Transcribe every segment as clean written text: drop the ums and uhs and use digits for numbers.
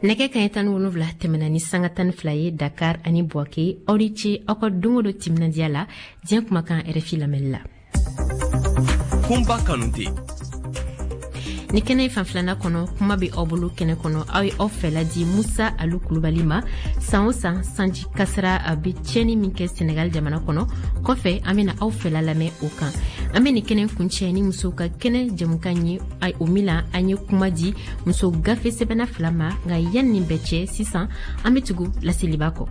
Nɛgɛ kaɲɛ 17 tɛmɛna ni sanga 12 ye Dakar ani Bouaké. Aw ni ce aw ka don o don timinandiya la diɲɛ kumakan RFI lamɛnli la. Kunba Kanute. Ni kɛnɛ fan filana kɔnɔ, kuma bɛ aw bolo kɛnɛ kɔnɔ, aw ye aw fɛla di Musa Alu Kulubali ma. San o san, sanji kasara a bɛ tiɲɛni min kɛ Senegal jamana kɔnɔ, kɔfɛ an bɛna aw fɛla lamɛn o kan. An bɛ nin kɛnɛ kuncɛ ni musow ka kɛnɛ jɛmukan ye, o min na an ye kuma di muso gafe sɛbɛnna fila ma. Nka yanni nin bɛɛ cɛ, sisan an bɛ tugu laseliba kɔ.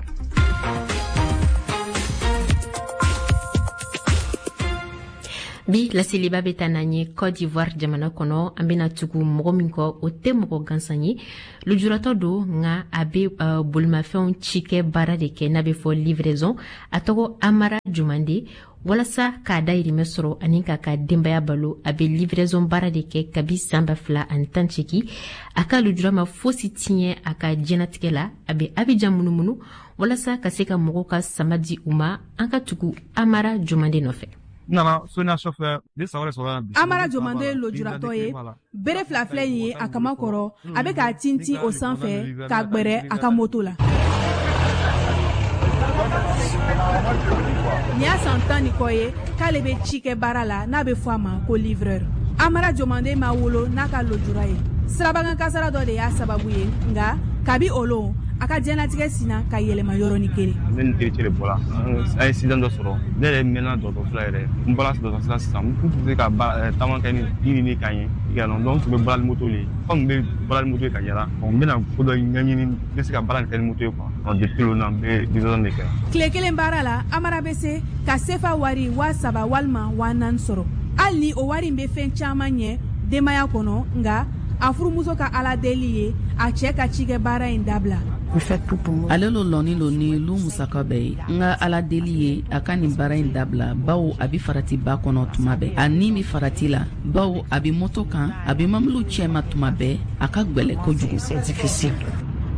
Bi laseliba bɛ taa n'an ye Côte d'Ivoire jamana kɔnɔ. An bɛna tugu mɔgɔ min kɔ, o tɛ mɔgɔ gansan ye, lujuratɔ don, nka a bɛ bolimafɛnw cikɛ baara de kɛ n'a bɛ fɔ livraison. A tɔgɔ Amara Jumande. Walasa k'a dayirimɛ sɔrɔ ani k'a ka denbaya balo, a bɛ livraison baara de kɛ kabi san 2018. A ka lujura ma fosi tiɲɛ a ka diɲɛnatigɛ la. A bɛ Abidjan munumunu walasa ka se ka mɔgɔw ka sama di u ma. An ka tugu Amara Jumande nɔfɛ. Nana Sonia chauffeur ne san wɛrɛ sɔrɔ bi. Amara Jomande ye lujuratɔ ye. Bere fila filɛ nin ye a kama kɔrɔ, a bɛ k'a tintin o sanfɛ k'a gbɛrɛ a ka moto la. Nin y'a san 10 ni kɔ ye k'ale bɛ ci kɛ baara la n'a bɛ fɔ a ma ko livreur. Amara Jomande ma wolo n'a ka lujura ye. Sirabakan kasara dɔ de y'a sababu ye, nka kabi o lon a ka diɲɛlatigɛ sinna ka yɛlɛma yɔrɔnin kelen. Ne ni tericɛ de bɔra, an ye accident dɔ sɔrɔ. Ne yɛrɛ mɛnna dɔgɔtɔrɔso la yɛrɛ. N bɔra dɔgɔtɔrɔso la sisan, n tun tɛ se ka taama kɛ ni yiri ni kan ye. Donc n tun bɛ baara ni moto de ye. Komi n bɛ baara ni moto ye ka yala, n bɛna ko dɔ ɲɛɲini, n bɛ se ka baara nin kɛ ni moto ye quoi. Depuis le n bɛ livraison de kɛ. Tile kelen baara la, Amara bɛ se ka sefa wari 3000 walima 4000 sɔrɔ. Hali ni o wari in bɛ fɛn caman ɲɛ denbaya kɔnɔ, nka a furumuso ka ala deli ye a cɛ ka cikɛ baara in dabila. Ale lo lɔnin lo ni lu musaka bɛɛ ye. N ka ala deli ye a ka nin baara in dabila, bawo a bi farati ba kɔnɔ tuma bɛɛ. A ni mi farati la, bawo a bi moto kan, a bi mɔbiliw cɛma tuma bɛɛ. A ka gwɛlɛ kojugu.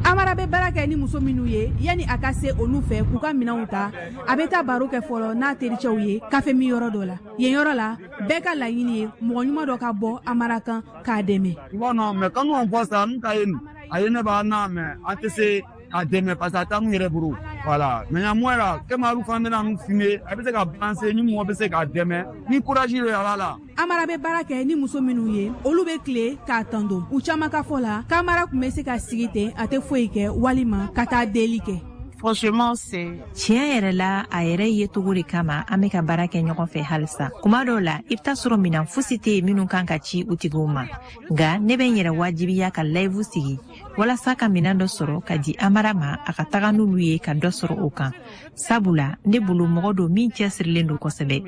Amara bɛ baara kɛ ni muso minnu ye, yanni a ka se olu fɛ k'u ka minɛnw ta, a bɛ taa baro kɛ fɔlɔ n'a tericɛw ye kafe min yɔrɔ dɔ la. Yen yɔrɔ la, bɛɛ ka laɲini ye mɔgɔ ɲuman dɔ ka bɔ Amara kan k'a dɛmɛ. Non, mais quand nous on voit ça, nous ka ye a ye ne b'a n'a mɛ an tɛ se k'a dɛmɛ parce que a t'an yɛrɛ bolo. Voilà, mais moi là, comme alu fana bɛna nous filmer, a bɛ se ka balancer ni mɔgɔ bɛ se k'a dɛmɛ ni courage ye a la. Amara bɛ baara kɛ ni muso minnu ye, olu bɛ tile k'a tando. U caman ka fɔ la k'Amara tun bɛ se ka sigi ten, a tɛ foyi kɛ, walima ka taa deli kɛ. Franchement, c'est Tiɲɛ yɛrɛ la, a yɛrɛ ye cogo de kama an bɛ ka baara kɛ ɲɔgɔn fɛ halisa. Kuma dɔw la, i bɛ taa sɔrɔ minan fosi tɛ yen minnu kan ka ci u tigiw ma, nka ne bɛ n yɛrɛ wajibiya ka live sigi walasa ka minan dɔ sɔrɔ ka di Amara ma, a ka taga n'olu ye ka dɔ sɔrɔ o kan, sabula ne bolo mɔgɔ don min cɛsirilen don kosɛbɛ.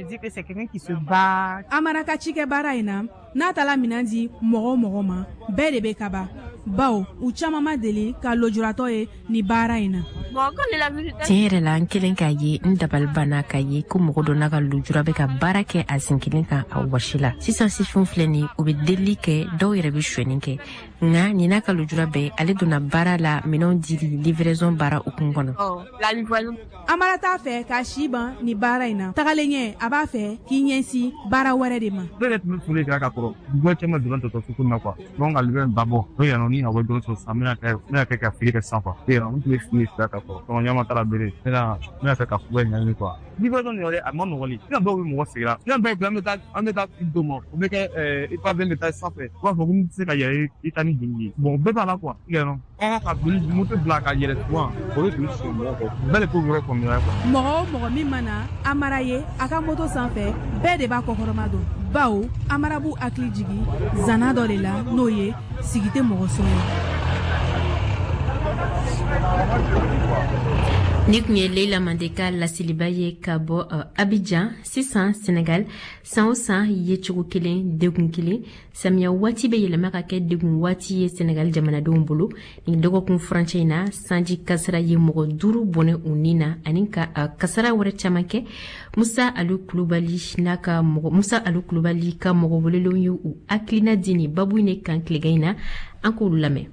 Amara ka cikɛ baara in na, n'a taara minan di mɔgɔ o mɔgɔ ma, bɛɛ de bɛ kaba, bawo u caman ma deli ka lujuratɔ ye ni baara in na. Tiɲɛ yɛrɛ la, n kelen k'a ye, n dabali banna k'a ye ko mɔgɔ dɔ n'a ka lujura bɛ ka baara kɛ a sen kelen kan a wɔsi la. Sisan sifinw filɛ nin, u bɛ delili kɛ, dɔw yɛrɛ bɛ sonyɛni kɛ, nka nin n'a ka lujura bɛɛ, ale donna baara la minɛnw dili livraison baara hukumu kɔnɔ. Amara t'a fɛ k'a si ban ni baara in na. Tagalen ɲɛ, a b'a fɛ k'i ɲɛsin baara wɛrɛ de ma. Ne yɛrɛ tun bɛ foli kɛ ka kɔrɔ dugu caman donna dɔgɔtɔrɔso ko na quoi. Donc ale bɛ ba bɔ n'o yan ni a bɛ dɔrɔn sɔrɔ sisan, n bɛna kɛ ka feere kɛ sisan quoi. N tun bɛ fili fila ka kɔrɔ, donc ɲama taara bere, n bɛna fɛ ka fura ɲagami quoi. Livraison nin yɛrɛ, a ma nɔgɔn. Ni dɔw bɛ mɔgɔ sigira, ni dɔw bɛ an bɛ taa d'o ma, o bɛ kɛ i pa bɛ taa sanfɛ, u b'a fɔ ko n tɛ se ka yɛlɛ i ta ni joli ye. Bon, bɛɛ b'a la quoi. An ka joli moto bila ka yɛlɛ souvent, o bɛ joli sɔrɔ mɔgɔ kɔ, bɛɛ de t'o yɔrɔ faamuya quoi. Mɔgɔ o mɔgɔ min mana Amara ye a ka moto sanfɛ, bɛɛ de b'a kɔkɔrɔma dɔn, bawo Amara b'u hakili jigin zana dɔ de la, n'o ye sigi tɛ mɔgɔ sɔn ye. Ni tun ye Leila Mande ka laseliba ye ka bɔ Abidjan. Sisan Senegal, san o san yecogo kelen, degun kelen, samiya waati bɛ yɛlɛma ka kɛ degun waati ye Senegal jamanadenw bolo. Nin dɔgɔkun furancɛ in na, sanji kasara ye mɔgɔ duuru bɔnɛ u ni na ani ka kasara wɛrɛ caman kɛ. Musa Alu Kulubali n'a ka mɔgɔ, Musa Alu Kulubali ka mɔgɔ welelenw ye u hakilina di nin babu in de kan tilegan in na. An k'olu lamɛn.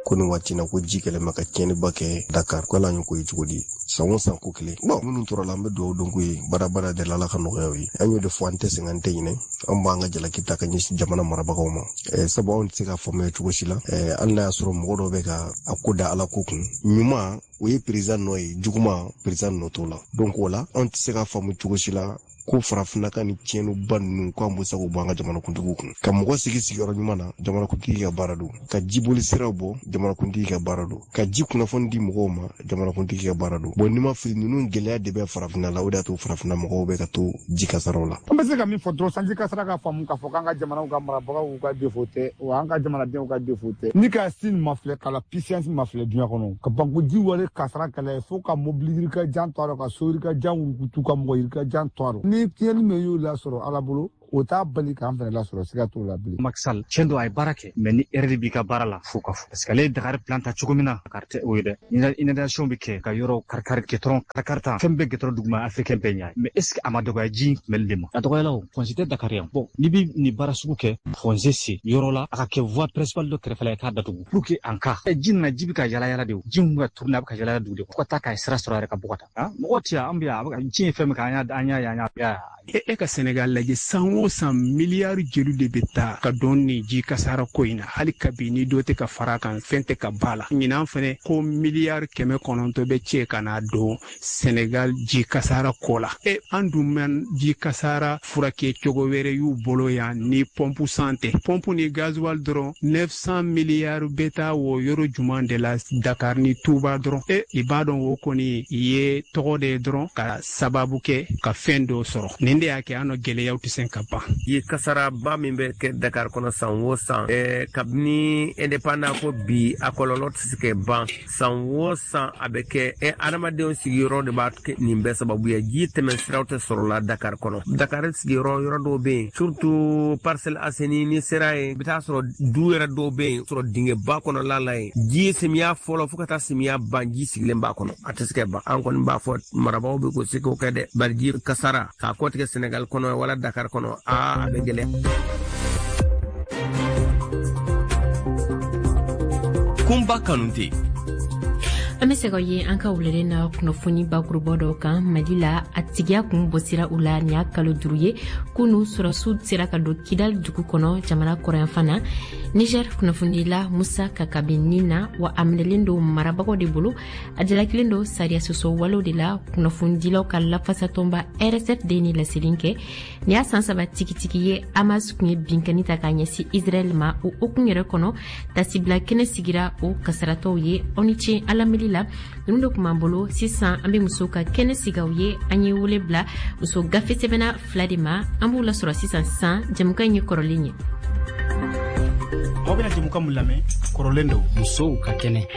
Ko nin waati na ko ji kɛlen bɛ ka tiɲɛniba kɛ Dakar. Ko ala y'o ko ye cogo di? San o san ko kelen. Bon, minnu tora la, an bɛ dugawu don k'u ye, baarabara de la, Ala ka nɔgɔya u ye. An y'o de fɔ, an tɛ sɛgɛn, an tɛ ɲinɛ. An b'an ka jalaki ta ka ɲɛsin jamana marabagaw ma, sabu anw tɛ se ka faamuya cogo si la. Hali n'a y'a sɔrɔ mɔgɔ dɔw bɛ ka a ko da Ala ko kun, ɲuman o ye président nɔ ye, juguman président nɔ t'o la. Donc o la, anw tɛ se ka faamu cogo si la ko farafinna ka ni tiɲɛniba ninnu, ko an bɛ se k'o bɔ an ka jamanakuntigiw kun. Ka mɔgɔ sigi sigiyɔrɔ ɲuman na, jamanakuntigi ka baara don. Ka jiboli siraw bɔ, jamanakuntigi ka baara don. Ka ji kunnafoni di mɔgɔw ma, jamanakuntigi ka baara don. Bon, n'i ma fili, ninnu gɛlɛya de bɛ farafinna la. O de y'a to farafinna mɔgɔw bɛ ka to ji kasaraw la. An bɛ se ka min fɔ dɔrɔn, sanji kasara ka faamu k'a fɔ k'an ka jamanaw ka marabagaw ka défaut tɛ wa, an ka jamanadenw ka défaut tɛ. Ni ka sin mafilɛ, ka la puissance mafilɛ duɲa kɔnɔ ka ban ko ji wale kasara kɛlɛ, fo ka mobili yirika jan to a rɔ, ka so yirika jan wurukutu, ka mɔgɔ yirika jan to a rɔ. Ni tiɲɛni min y'o lasɔrɔ Ala bolo, o t'a bali k'an fɛnɛ lasɔrɔ, siga t'o la bilen. Macky Sall, tiɲɛ don, a ye baara kɛ, mais ni erreur b'i ka baara la, fo ka fɔ, parce que ale ye Dakar plan ta cogo min na, Dakar tɛ o ye dɛ. Inondation bɛ kɛ ka yɔrɔ karikari, goudron karikari tan, fɛn bɛɛ goudron duguma, africain bɛɛ ɲɛ. Mais est ce que a ma dɔgɔya ji kunbɛli de ma? A dɔgɔyala o. Fossé tɛ Dakar yan. Bon, n'i bɛ nin baara sugu kɛ, fossé sen yɔrɔ la, a ka kɛ voie principale dɔ kɛrɛfɛ la, i k'a datugu pour que en cas ji nana, ji bɛ ka yala yala de, o ji min bɛ ka tourner, a bɛ ka yala yala dugu de fo ka taa k'a sira sɔrɔ a yɛrɛ ka bɔ ka taa. Mɔgɔ tɛ yan, an bɛ yan, a bɛ ka ji ye fɛn min kɛ, an y'a ye, an y'a E ka Senegal lajɛ, san o san miliyari joli de bɛ taa ka don nin ji kasara ko in na? Hali kabi ni dɔ tɛ ka fara kan, fɛn tɛ ka ba la. Ɲinan fɛnɛ ko miliyari 900 bɛ cɛ ka na don Senegal ji kasara ko la. E, an dun man ji kasara furakɛ cogo wɛrɛ y'u bolo yan ni pɔnpu san tɛ, pɔnpu ni gasoil dɔrɔn, 900 miliyari bɛ taa o yɔrɔ juman de la, Dakar ni Touba dɔrɔn. E, i b'a dɔn, o kɔni ye tɔgɔ de ye dɔrɔn ka sababu kɛ ka fɛn dɔ sɔrɔ. Nin de y'a kɛ an nɔ gɛlɛyaw tɛ se ka ban. Ye kasaraba min bɛ kɛ Dakar kɔnɔ san o san, kabini indépendant ko bi, a kɔlɔlɔ tɛ se ka ban. San o san a bɛ kɛ. Adamadenw sigiyɔrɔ de b'a nin bɛɛ sababu ye. Ji tɛmɛ siraw tɛ sɔrɔ la Dakar kɔnɔ. Dakar sigiyɔrɔ yɔrɔ dɔw bɛ yen, surtout Parcelles Assainies, ni sera yen, i bɛ taa sɔrɔ du yɛrɛ dɔw bɛ yen sɔrɔ dingɛba kɔnɔla la yen. Ji samiya fɔlɔ fo ka taa samiya ban, ji sigilen b'a kɔnɔ, a tɛ se ka ban. An kɔni b'a fɔ marabagaw bɛ k'o se k'o kɛ dɛ, bari ji kasara k'a kɔtigɛ Senegal kɔnɔ wala Dakar kɔnɔ, aa, a bɛ gɛlɛya. Kunba Kanute. An bɛ segin ye an ka wulalen na kunnafoni bakuruba dɔw kan. Mali la, a tigiya kun bɔsira u la nin y'a kalo 5 ye. Kunu, sɔrɔsiw sera ka don Kidal dugu kɔnɔ, jamana kɔrɔyanfan na. Niger kunnafonidila Musa Kaka bɛ nin na wa, a minɛlen don marabagaw de bolo. A jalakilen don sariya sɔsɔ walew de la. Kunnafonidilaw ka lafasatɔnba RSF de ye nin laseli kɛ. Nin y'a san 3 tigitigi ye Hamas kun ye binkani ta k'a ɲɛsin Israɛl ma. O hukumu yɛrɛ kɔnɔ, tasibila kɛnɛ sigira o kasaratɔw ye. Aw ni ce an lamɛnli la. Ninnu de tun b'an bolo. Sisan, an bɛ musow ka kɛnɛ sigi aw ye. An ye wele bila muso gafe sɛbɛnna fila de ma. An b'u lasɔrɔ sisan sisan. Jɛmukan in ye kɔrɔlen ye. Aw bɛna jɛmukan mun lamɛn, kɔrɔlen don. Musow ka kɛnɛ.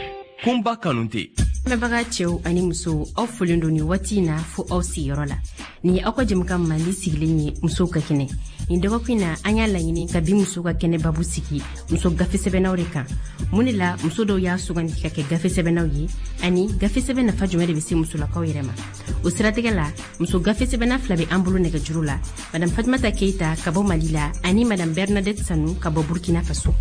Kunba Kanute. Lamɛnbaga cɛw ani musow, aw folen don nin waati in na fo aw sigiyɔrɔ la. Nin ye aw ka jɛmukan mandi sigilen ye, musow ka kɛnɛ. Nin dɔgɔkun in na, an y'a laɲini ka bi musow ka kɛnɛ babu sigi muso gafe sɛbɛnnaw de kan. Mun de la muso dɔw y'a sugandi ka kɛ gafe sɛbɛnnaw ye, ani gafe sɛbɛn nafa jumɛn de bɛ se musolakaw yɛrɛ ma? O siratigɛ la, muso gafe sɛbɛnna fila bɛ an bolo nɛgɛjuru la: Madame Fatumata Keita ka bɔ Mali la, ani Madame Bernadette Sanu ka bɔ Burkina Faso.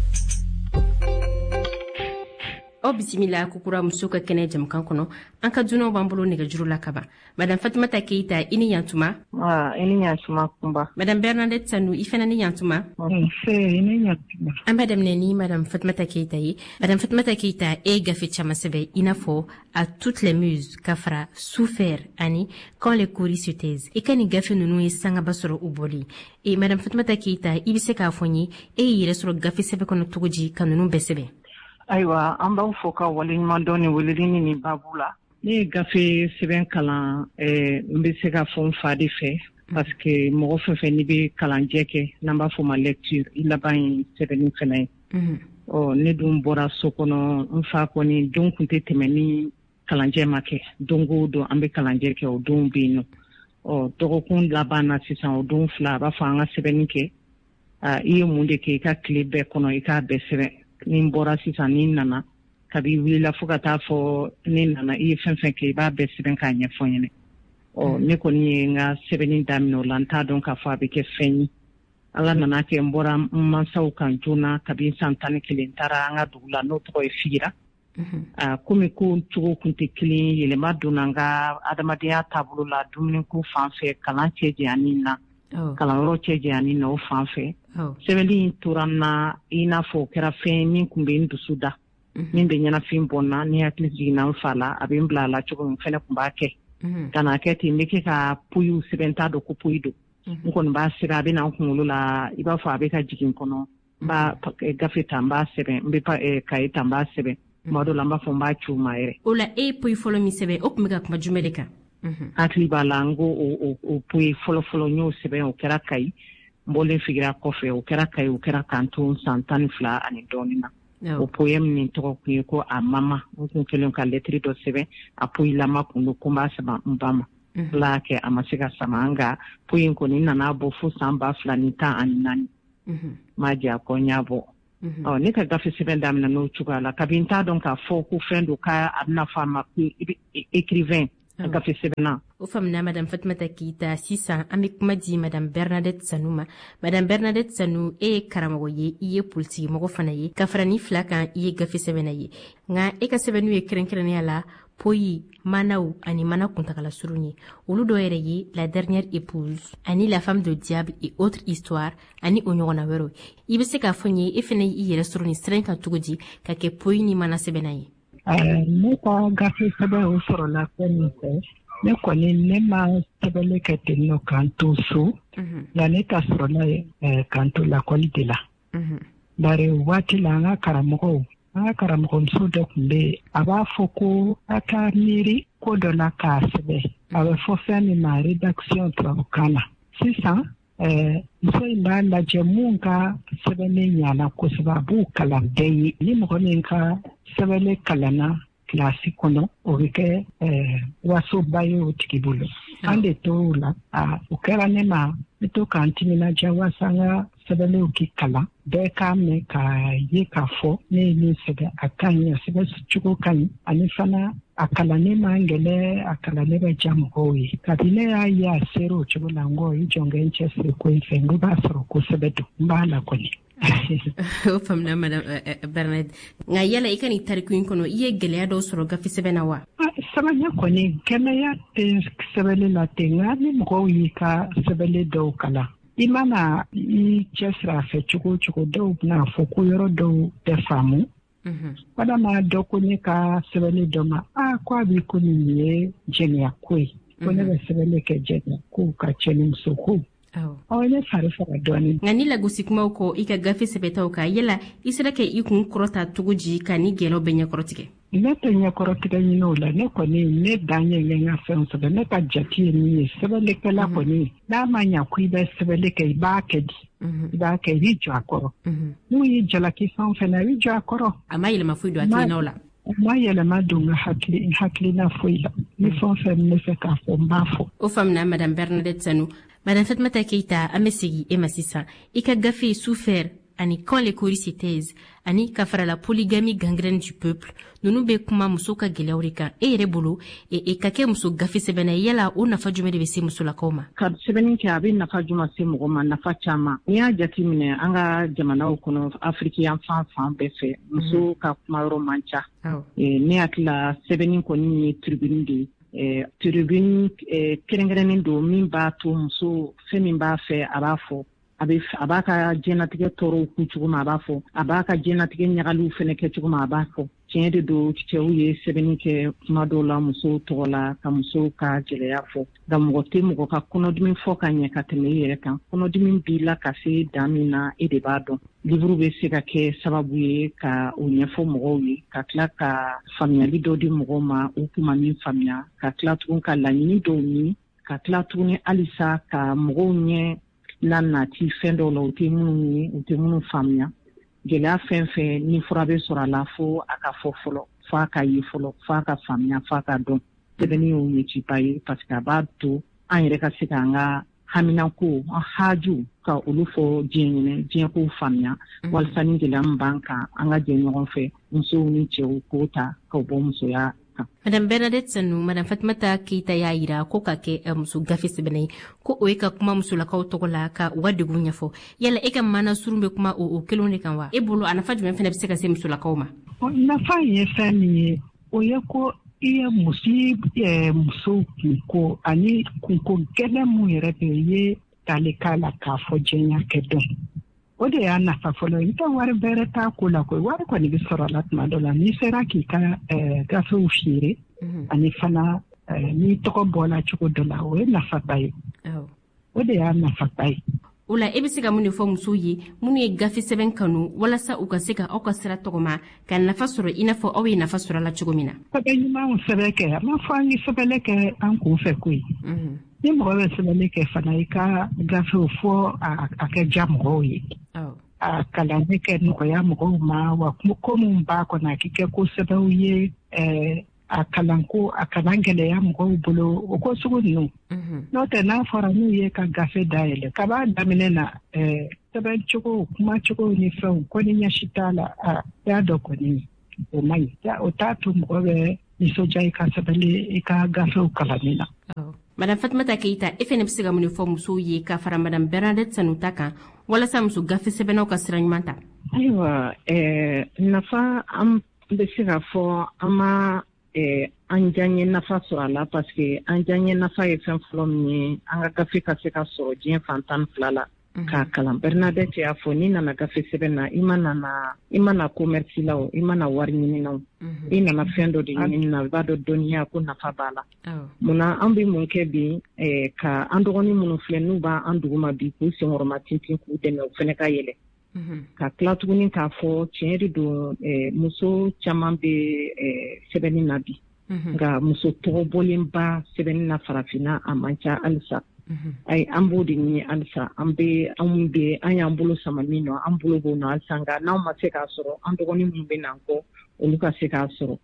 Aw bisimila kokura muso ka kɛnɛ jɛmukan kɔnɔ. An ka dunanw b'an bolo nɛgɛjuru la kaban. Madame Fatumata Keita, i ni yantuma. I ni yantuma, Kunba. Madame Bernadette Sanu, i fana ni yantuma. Nse, i ni yantuma. An b'a daminɛ ni Madame Fatumata Keita ye. Madame Fatumata Keita, e ye gafe caman sɛbɛn, i n'a fɔ À toutes les muses, ka fara Souffert ani Quand les cauris se taisent. I ka nin gafe ninnu ye sangaba sɔrɔ u bɔli e. Madame Fatumata Keita, i bɛ se k'a fɔ n ye, e y'i yɛrɛ sɔrɔ gafe sɛbɛn kɔnɔ cogo di ka ninnu bɛɛ sɛbɛn? Ayiwa, an b'aw fɔ ka waleɲuman dɔn ni weleli ni nin babu la. Ne ye gafe sɛbɛn kalan, n bɛ se ka fɔ n fa de fɛ, parce que mɔgɔ fɛn fɛn n'i bɛ kalanjɛ kɛ, n'an b'a fɔ o ma lecture, i laban ye sɛbɛnni fɛnɛ ye. Ɔ, ne dun bɔra so kɔnɔ, n fa kɔni don tun tɛ tɛmɛ ni kalanjɛ ma kɛ. Don o don an bɛ kalanjɛ kɛ, o don bɛ yen nɔ. Ɔ, dɔgɔkun laban na sisan, o don fila, a b'a fɔ an ka sɛbɛnni kɛ. I ye mun de kɛ i ka tile bɛɛ kɔnɔ, i k'a bɛɛ sɛbɛn. Ni n bɔra sisan, ni n nana, kabi wulila fo ka taa fɔ ne nana, i ye fɛn fɛn kɛ, i b'a bɛɛ sɛbɛn k'a ɲɛfɔ n ɲɛnɛ. Ɔ, ne kɔni ye n ka sɛbɛnni daminɛ o la. N t'a dɔn k'a fɔ a bɛ kɛ fɛn ye. Ala nana kɛ n bɔra n mansaw kan joona kabi san 11, n taara an ka dugu la, n'o tɔgɔ ye Figira. Komi ko cogo tun tɛ kelen, yɛlɛma donna n ka adamadenya taabolo la, dumuniko fan fɛ, kalan cɛ janyani na, kalanyɔrɔ cɛ janyani na, o fan fɛ. Sɛbɛnni in tora n na i n'a fɔ o kɛra fɛn min tun bɛ n dusu da, min bɛ ɲɛnafin bɔ n na. Ni hakili jiginna n fa la, a bɛ n bila a la cogo min, fɛnɛ tun b'a kɛ. Ka n'a kɛ ten, n bɛ kɛ ka poyiw sɛbɛn, t'a dɔn ko poyi don. N kɔni b'a sɛbɛn, a bɛ na n kunkolo la i b'a fɔ a bɛ ka jigin kɔnɔ. N b'a gafe ta, n b'a sɛbɛn, n bɛ kaye ta, n b'a sɛbɛn. Tuma dɔw la, n b'a fɔ n b'a ci u ma yɛrɛ. O la, e ye poyi fɔlɔ min sɛbɛn, o tun bɛ ka kuma jumɛn de kan? Hakili b'a la, n ko o poyi fɔlɔ-fɔlɔ n y'o sɛbɛn, o kɛra Kayi. N bɔlen Figira kɔfɛ, o kɛra Kayi, o kɛra k'an to san 12 ani dɔɔnin na. O poème nin tɔgɔ kun ye ko À maman. N kun kɛlen ka lɛtiri dɔ sɛbɛn, a poyilama kun don, ko n b'a sama n ba ma. Ala y'a kɛ a ma se ka sama, nka poyi in kɔni nana bɔ fo san 2014. M'a jɛ a kɔ, n y'a bɔ. Ɔ, ne ka gafe sɛbɛn daminɛ n'o cogoya la, kabi n t'a dɔn k'a fɔ ko fɛn don, k'a bɛna fɔ a ma ko écrivain, gafe sɛbɛnna. O faamuna, Madame Fatumata Keyita. Sisan an bɛ kuma di Madame Bernadette Sanu ma. Madame Bernadette Sanu, e ye karamɔgɔ ye, i ye politikimɔgɔ fana ye, ka fara ni fila kan, i ye gafe sɛbɛnna ye. Nka e ka sɛbɛnniw ye kɛrɛnkɛrɛnnenya la poyi, manaw ani mana kuntagala surun ye. Olu dɔ yɛrɛ ye La dernière épouse ani La femme de diable et autres histoires ani o ɲɔgɔnna wɛrɛw. I bɛ se k'a fɔ n ye, e fana y'i yɛrɛ sɔrɔ nin sira in kan cogo di ka kɛ poyi ni mana sɛbɛnna ye? Ne ka gafe sɛbɛn, o sɔrɔla fɛn min fɛ, ne kɔni, ne ma sɛbɛnni kɛ ten nɔ k'an to so, nka ne ta sɔrɔla k'an to lakɔli de la. Bari waati la, an ka karamɔgɔw, an ka karamɔgɔmuso dɔ tun bɛ yen, a b'a fɔ ko a ka miiri ko dɔ la k'a sɛbɛn, a bɛ fɔ fɛn min ma rédaction tubabukan na. Sisan muso in b'a lajɛ mun ka sɛbɛnni ɲana kosɛbɛ, a b'o kalan bɛɛ ye. Ni mɔgɔ min ka sɛbɛnni kalanna kilasi kɔnɔ, o bɛ kɛ wasoba ye o tigi bolo. An de tor'o la, o kɛra ne ma, ne to k'an timinadiya walasa an ka sɛbɛnniw k'i kalan, bɛɛ k'a mɛn k'a ye k'a fɔ ne ye min sɛbɛn, a ka ɲi, a sɛbɛn cogo ka ɲi, ani fana a kalannen man gɛlɛn, a kalannen bɛ diya mɔgɔw ye. Kabi ne y'a ye a sera o cogo la, n ko i jɔn kɛ n cɛsiri ko in fɛ, n ko b'a sɔrɔ kosɛbɛ don, n b'a la kɔni. O faamuna, Madame Bernadette. Nka yala i ka nin tariku in kɔnɔ, i ye gɛlɛya dɔw sɔrɔ gafe sɛbɛn na wa? Sɛbɛnni kɔni, gɛlɛya tɛ sɛbɛnni la ten, nka ni mɔgɔw y'i ka sɛbɛnni dɔw kalan, i mana i cɛsiri a fɛ cogo o cogo, dɔw bɛna fɔ ko yɔrɔ dɔw tɛ faamu. Walama dɔ ko ne ka sɛbɛnni dɔ ma, a ko a b'i komi nin ye jɛnɛya ko ye, ko ne bɛ sɛbɛnni kɛ jɛnɛya ko ka cɛnimuso ko. Ɔ, ne fari faga dɔɔnin. Nka ni lagosi kumaw kɔ i ka gafe sɛbɛtaw kan, yala i sera ka i kun kɔrɔta cogo di ka ni gɛlɛyaw bɛɛ ɲɛkɔrɔtigɛ? Ne tɛ ɲɛkɔrɔtigɛ ɲini o la. Ne kɔni, ne dan ye n ka fɛnw sɛbɛn. Ne ka jate ye min ye, sɛbɛnnikɛla kɔni, n'a ma ɲa ko i bɛ sɛbɛnni kɛ, i b'a kɛ di, i b'a kɛ, i b'i jɔ a kɔrɔ. N'u y'i jalaki fɛn o fɛn na, i b'i jɔ a kɔrɔ. A ma yɛlɛma foyi don hakilinaw la? A ma yɛlɛma don n ka hakilina foyi la. Ni fɛn o fɛn n bɛ fɛ k'a fɔ, n b'a fɔ. O faamuna, Madame Bernadette Sanu. Madame Fatumata Keita, an bɛ segin e ma sisan. I ka gafe Souffert ani Quand les cauris se taisent ani ka fara La polygamie gangrène du peuple, ninnu bɛ kuma muso ka gɛlɛyaw de kan. E yɛrɛ bolo, e ka kɛ muso gafe sɛbɛnna, yala o nafa jumɛn de bɛ se musolakaw ma? Ka sɛbɛnni kɛ, a bɛ nafa jumɛn se mɔgɔ ma? Nafa caman. N'i y'a jate minɛ an ka jamanaw kɔnɔ, Afiriki yan fan fan bɛɛ fɛ, muso ka kumayɔrɔ man ca. Ne hakili la, sɛbɛnni kɔni ye tribune de ye, tribune kɛrɛnkɛrɛnnen don min b'a to muso, fɛn min b'a fɛ, a b'a fɔ. A b'a ka diɲɛnatigɛ tɔɔrɔw kun cogo min, a b'a fɔ. A b'a ka diɲɛnatigɛ ɲagaliw fɛnɛ kɛ cogo min, a b'a fɔ. Tiɲɛ de don, cɛw ye sɛbɛnni kɛ kuma dɔw la musow tɔgɔ la, ka musow ka gɛlɛya fɔ, nka mɔgɔ tɛ mɔgɔ ka kɔnɔdimi fɔ ka ɲɛ ka tɛmɛ i yɛrɛ kan. Kɔnɔdimi b'i la ka se dan min na, e de b'a dɔn. Livre bɛ se ka kɛ sababu ye ka o ɲɛfɔ mɔgɔw ye, ka tila ka faamuyali dɔ di mɔgɔw ma u kun ma min faamuya, ka tila tugun ka laɲini dɔw ɲini, ka tila tuguni halisa ka mɔgɔw ɲɛ la nati fɛn dɔw la u tɛ minnu ye, u tɛ minnu faamuya. Gɛlɛya fɛn fɛn ni fura bɛ sɔrɔ a la, fo a ka fɔ fɔlɔ, fo a ka ye fɔlɔ, fo a ka faamuya, fo a ka dɔn. Sɛbɛnni y'o ɲɛciba ye, parce que a b'a to an yɛrɛ ka se k'an ka haminako, an haju, ka olu fɔ diɲɛ ɲɛnɛ, diɲɛ k'o faamuya, walasa ni gɛlɛya min b'an kan, an ka jɛ ɲɔgɔn fɛ, musow ni cɛw, k'o ta k'o bɔ musoya. kan. Madame Bernadette Sanu, Madame Fatumata Keita y'a yira ko ka kɛ muso gafe sɛbɛnna ye, ko o ye ka kuma musolakaw tɔgɔ la ka u ka degun ɲɛfɔ. Yala e ka maana surun bɛ kuma o kelenw de kan wa? E bolo, a nafa jumɛn fana bɛ se ka se musolakaw ma? Nafa ye fɛn min ye, o ye ko i ye musow kunko ani kunko gɛlɛn mun yɛrɛ bɛ i ye tali k'a la k'a fɔ diɲɛ kɛ dɔn. O de y'a nafa fɔlɔ ye. N tɛ wari bɛrɛ t'a ko la koyi. Wari kɔni bɛ sɔrɔ a la tuma dɔ la n'i sera k'i ka gafew feere, ani fana n'i tɔgɔ bɔla cogo dɔ la, o ye nafaba ye. O de y'a nafaba ye. O la, e bɛ se ka mun de fɔ musow ye minnu ye gafe sɛbɛn kanu, walasa u ka se ka aw ka sira tɔgɔma ka nafa sɔrɔ i n'a fɔ aw ye nafa sɔrɔ a la cogo min na? Sɛbɛn ɲumanw sɛbɛn kɛ. A ma fɔ an ye sɛbɛnni kɛ an kun fɛ koyi. Ni mɔgɔ bɛ sɛbɛnni kɛ fana, i ka gafew fɔ a kɛ diya mɔgɔw ye, a kalanni kɛ nɔgɔya mɔgɔw ma wa. Ko min b'a kɔnɔ, a k'i kɛ ko sɛbɛnw ye, a kalanko a kana gɛlɛya mɔgɔw bolo, o ko sugu ninnu. N'o tɛ, n'a fɔra n'u ye ka gafe dayɛlɛ kab'a daminɛ na, sɛbɛn cogo, kuma cogo ni fɛnw ko ni ɲɛsi t'a la, a y'a dɔn kɔni o man ɲi. O t'a to mɔgɔ bɛ nisɔndiya i ka sɛbɛnni, i ka gafew kalanni na. Madame Fatumata Keita, e fɛnɛ bɛ se ka mun de fɔ musow ye ka fara Madame Bernadette Sanu ta kan, walasa muso gafe sɛbɛnnaw ka sira ɲuman ta? Ayiwa, nafa an bɛ se k'a fɔ an ma an diyaɲɛ nafa sɔrɔ a la, parce que an diyaɲɛ nafa ye fɛn fɔlɔ min ye, an ka gafe ka se ka sɔrɔ diɲɛ fan 12 la k'a kalan. Bernadette y'a fɔ, n'i nana gafe sɛbɛn na, i ma nana, i ma na commerce la o, i ma na wari ɲini na o, i nana fɛn dɔ de ɲini na. I b'a dɔn dɔnniya ko nafa b'a la. Munna an bɛ mun kɛ bi ka an dɔgɔnin minnu filɛ n'u b'an duguma bi, k'u senkɔrɔma tintin, k'u dɛmɛ u fɛnɛ ka yɛlɛ, ka tila tuguni k'a fɔ tiɲɛ de don, muso caman bɛ sɛbɛnni na bi, nka muso tɔgɔ bɔlenba sɛbɛnni na farafinna, a man ca halisa. Ayi, an b'o de ɲini halisa. An bɛ anw bɛ an y'an bolo sama min nɔ, an bolo b'o nɔ halisa. Nka n'anw ma se k'a sɔrɔ, an dɔgɔnin minnu bɛ na an kɔ, olu ka se k'a sɔrɔ.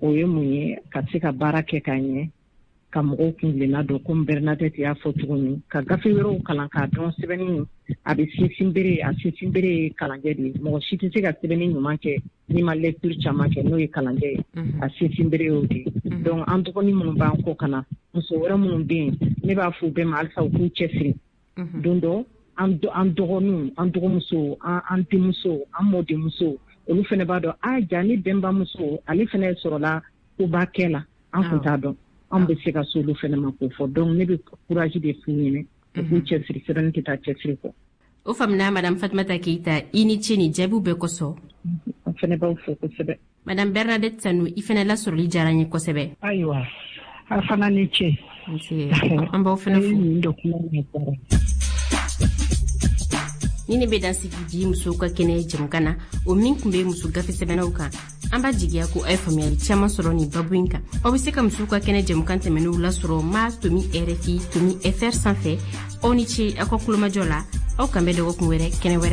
O ye mun ye? Ka se ka baara kɛ ka ɲɛ, ka mɔgɔw kuntilenna dɔn, komi Bernadette y'a fɔ cogo min, ka gafe wɛrɛw kalan k'a dɔn. Sɛbɛnni a bɛ sinsin bere, a sinsin bere ye kalanjɛ de ye. Mɔgɔ si tɛ se ka sɛbɛnni ɲuman kɛ n'i ma lecture caman kɛ, n'o ye kalanjɛ ye. A sinsin bere y'o de ye. Donc an dɔgɔnin minnu b'an kɔ ka na, muso wɛrɛ minnu bɛ yen, ne b'a fɔ u bɛɛ ma halisa u k'u cɛsiri. Don dɔ an dɔgɔninw, an dɔgɔmusow, an denmusow, an mɔdenmusow, olu fana b'a dɔn a ja ni bɛnbamuso ale fana sɔrɔla koba kɛ la, an kun t'a dɔn. An bɛ se ka se olu fana ma k'o fɔ. Donc ne bɛ courage de f'u ɲɛna, u k'u cɛsiri. Sɛbɛnni tɛ taa cɛsiri kɔ. O faamuna. Madame Fatumata Keita, i ni ce ni jaabiw bɛɛ kosɔn. An fana b'aw fo kosɛbɛ. Madame Bernadette Sanu, i fana lasɔrɔli diyara n ye kosɛbɛ. Ayiwa, a fana ni ce. An b'aw fana fo. Nin dɔ kuma na diyara. Ni ne bɛ dan sigi bi musow ka kɛnɛ jɛmukan na, o min tun bɛ muso gafe sɛbɛnnaw kan. An b'a jigiya ko a ye faamuyali caman sɔrɔ nin babu in kan. Aw bɛ se ka musow ka kɛnɛ jɛmukan tɛmɛnenw lasɔrɔ ma.rfi.fr sanfɛ. Aw ni ce aw ka kulomajɔ la. Aw kan bɛ dɔgɔkun wɛrɛ, kɛnɛ wɛrɛ.